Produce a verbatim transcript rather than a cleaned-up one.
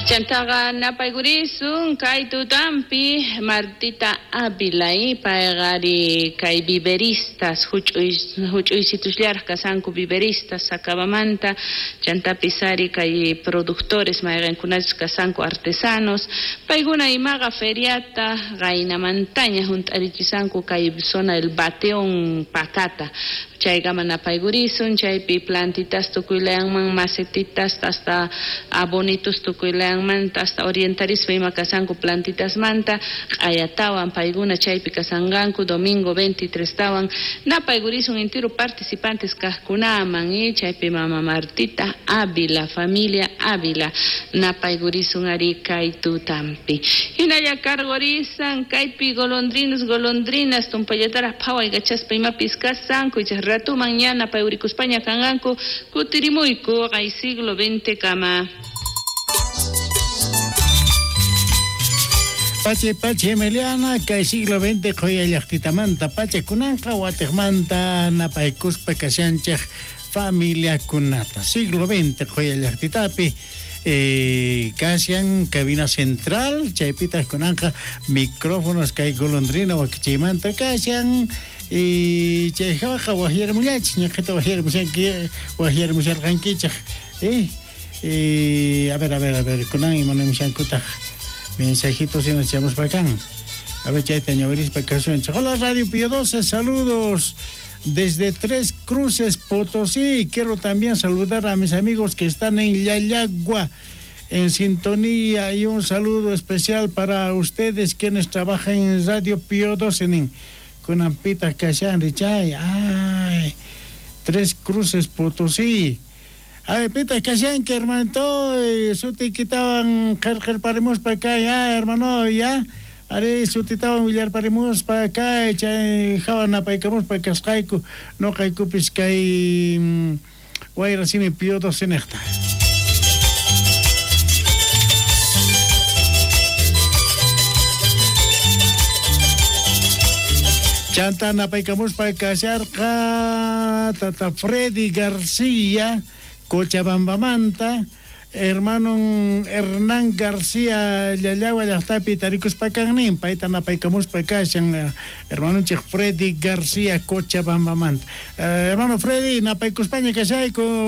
Chantaqa napaykurisun kay tutampi Martita Ávila, payqari kay viveristas huch'uy huch'uysitusllarej kasanku viveristas Sacabamanta, chantapis ari kay productores mayqinkunachus kasanku artesanos, paykuna imaqa feriata qaynamantaña hunt'arichisanku kay zona del Bateón Pacata. Chaykama napaykurisun, chaypi plantitas tukuylayanman, macetitas hasta abonitos tukuylayanmanta, hasta orientarispa ima kasanku plantitasmanta, q'ayatawan paykuna chaypi kasanqanku domingo veintitrés tawan napaykurisun entero participantes kajkunaman, y chaypi mama Martita Ávila, familia Ávila, napaykurisun ari kay tutampi. Hinalla cargorisan kaypi golondrinos, golondrinas, tumpallataraj phaway kachaspa imapis kasanku, ichas ratuman ña napayurikuspaña kanqanku, kutirimuyku kay siglo veinte kama. Pache pache Emiliana, kay siglo veinte qhoya llaqtitamanta pache kunanqa watejmanta napaykuspa kashanchej familiakunata. Siglo veinte qhoya llaqtitapi eh, kashan cabina central, chaypitaj kunanqa micrófonos kay golondrina wakichaymanta kashan. Y chayjawaqa wajyarmullachis, ñaqhita wajyarmushanki, wajyarmusharqankichej. Eh, eh, a ver, a ver, a ver, kunan imanemushankutaj mensajitos y nos echamos para acá. A ver, chayta ñawirispa kasunchej. Hola Radio Pío doce, saludos desde Tres Cruces, Potosí. Quiero también saludar a mis amigos que están en Llallagua, en sintonía, y un saludo especial para ustedes quienes trabajan en Radio Pío doce, en Kunampita kashan richay. Ay, Tres Cruces, Potosí. Ay, pita kashanki, hermanito, sutikitawan qharqharparimuspa kay, ah, hermano, ya. Ari sutitawan willarparimuspa kay, chay hawa napaykamuspa kasqayku, noqaykupis kay wayra simi Pío doce nejta. Chanta napaykamuspa kasharqa tata Freddy García, Cochabambamanta, hermano Hernán García Llallagua llaqtapi tarikuspa kannin, payta napaykamuspa kashan, hermanonchej Freddy García Cochabambamanta. Eh, hermano Freddy, napaykuspaña kashayku.